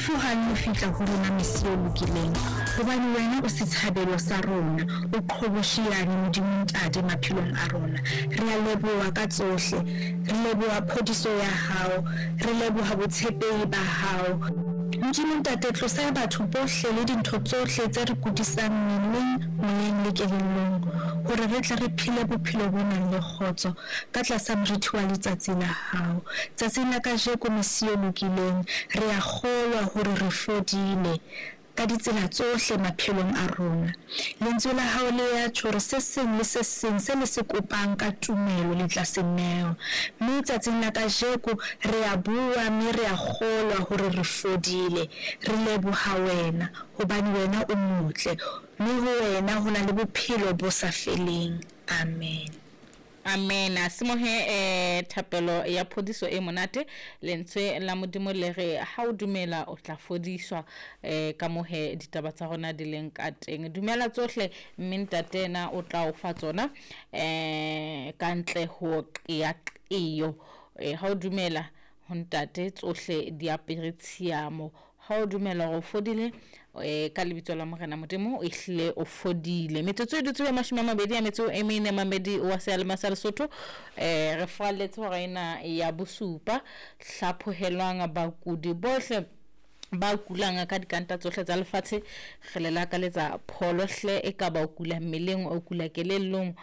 Lefu ha le no fihla ho rona mesi e lokileng, hobane wena o setshabelo sa rona, o qhobosheane Modimo Ntate maphelong a rona. Re a leboha ka tsohle, re leboha phodiso ya hao, re leboha botshepehi ba hao. Modimo Ntate, tlosa batho bohle le dintho tsohle tse re kudisang mmeleng, moyeng le kelellong, hore re tle re phele bophelo bo nang le kgotso ka tlasa morithi wa letsatsi la hao. Tsatsing la kajeko, mesi e lokileng, re a kgolwa hore re fodile ka ditsela tsohle maphelong a rona. Lentswe la hao le ya tjho hore se seng le se seng se le se kopang ka tumelo le tla se newa. Mme tsatsing la kajeko re a bua mme re a kgolwa hore re fodile. Re leboha wena hobane wena o motle, mme ho wena ho na le bophelo bo sa feleng. Amen. Amen. A simohe thapelo ya phodiso e monate. Lentswe la Modimo le re ha o dumela o tla fodiswa, ka mohe ditaba tsa rona di leng ka teng. Dumela tsohle mme ntate na o tla o fa tsona ka ntle ho qeaqeo. Ha o dumela ho ntate tsohle di apere tshiamo. Ha o dumela hore o fodile, ka lebitso la Morena Modimo, o ehlile o fodile. Metsotso e dutse 24 mamedi wa seyalemoya sa Lesotho. Re falletse hora ena ya bosupa. Hlaphohelwang bakudi bohle ba kulang ka dikanta tsohle tsa lefatshe. Re le lakaletsa pholo hle, e ka ba o kula mmeleng, o kula kelellong,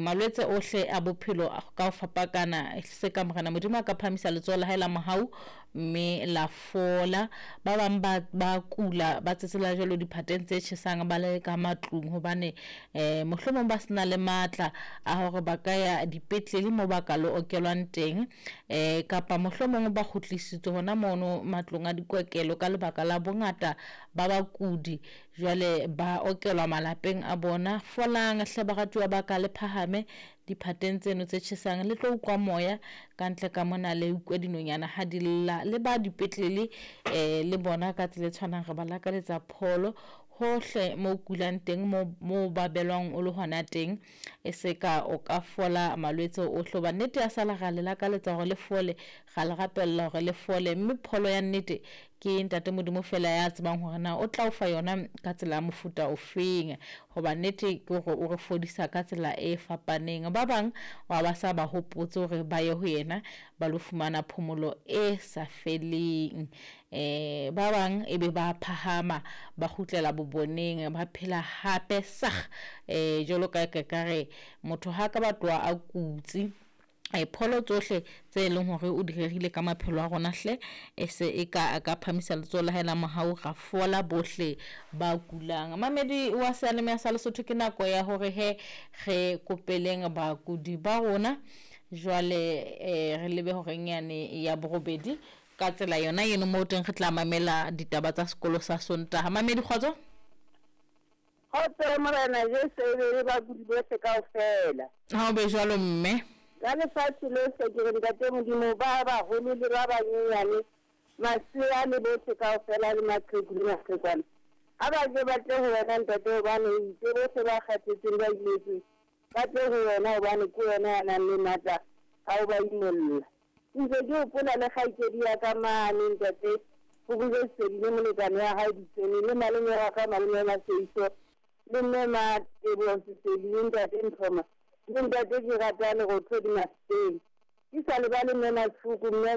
malwetse ohle a bophelo ka ho fapakana, se ka Morena Modimo a ka phahamisa letsoho la hae la mohau mme la fola. Ba bang ba kula ba tsetsela jwalo diphateng tse tjhesang ba le ka matlung, hobane mohlomong ba sena le matla a hore ba ka ya dipetlele moo ba ka lo okelwang teng, kapa mohlomong ba kgutlisitswe hona mono matlong a dikokelo ka lebaka la bongata ba bakudi. Jwale ba okelwa malapeng a bona. Folang hle baratuwa ba ka, le phahame diphateng tseno tse tjhesang, le tlo utlwa moya ka ntle ka mona, le utlwe dinonyana ha di lla. Le ba dipetlele le bona ka tsela e tshwanang, re ba lakaletsa pholo hohle mo kulang teng, mo ba belwang o le hona teng, e se ka o ka fola malwetse ohle. Hoba nnete ya sala ra le lakaletsa hore le fole, ra le rapella hore le fole, mme pholo ya nnete ke ntate Modimo fela ya tsebang hore na o tla o fa yona ka tsela ya mofuta ofeng. Hoba nnete ke hore o re fodisa ka tsela e fapaneng. Ba bang wa ba sa ba hopotse hore ba ye ho yena ba lo fumana phomolo e sa feleng. Ba bang e be ba phahama ba kgutlela boboneng, ba phela hape sag, jwalo ka ka re motho ha ka batloa a kutse. Pholo tsohle tse leng hore o di rerile ka maphelo a rona hle, e se e ka a ka phamisa letsoho la hae la mohau, ra fola bohle ba kulang. Mamedi wa seyalemoya sa Lesotho, ke nako ya hore he re kopeleng bakudi ba rona. Jwale re lebe horeng yane ya borobedi ka tsela yona eno moo teng re tla mamela ditaba tsa sekolo sa Sontaha. Mamedi, kgotso. Kgotso Morena Jesu e be le bakudi bohle kaofela. Ha o be jwalo mme. Ka lefatshe lohle ke re ntate Modimo, ba baholo le ba banyenyane, masea le bohle kaofela, le maqheku le maqhekwana, ha ba ke ba tle ho wena ntate, hobane o itse bohle ba kgathetseng ba imetsweng ba tle ho wena, hobane ke wena ya nang le matla a ho ba imolla. Ntse ke hopola le kgaitsedi ya ka mane ntate, ho bile Sedile molekane wa hae Ditsene, le malome wa ka malome Maseiso, le mme Matebo Sesedi, le ntate Nthoma, le ntate ke rata Lerothodi Mafeteng. Ke sa lebale mme Masuku, mme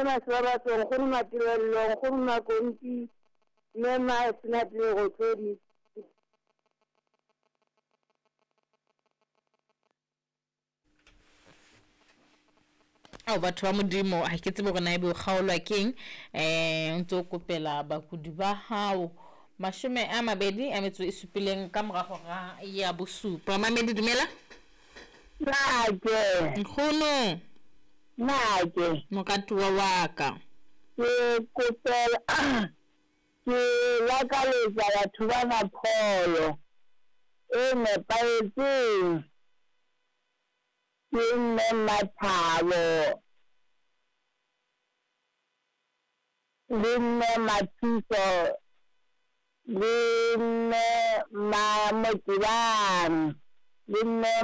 Masebabatso, nkgono Matebello, nkgono Makompi, mme Masenate Lerothodi. Ao batho ba Modimo, ha ke tsebe hore na ebe o kgaolwa keng. O ntso kopela bakudi ba hao 27 ka mora hora ya bosupa. Mamedi, dumela. Nake. Nkgono. Nake. Moratuwa wa ka. Ke kopela, ke lakaletsa batho bana pholo e nepahetseng. Ke mme Mathabo le mme Mathuso le mme Mamotebang le mme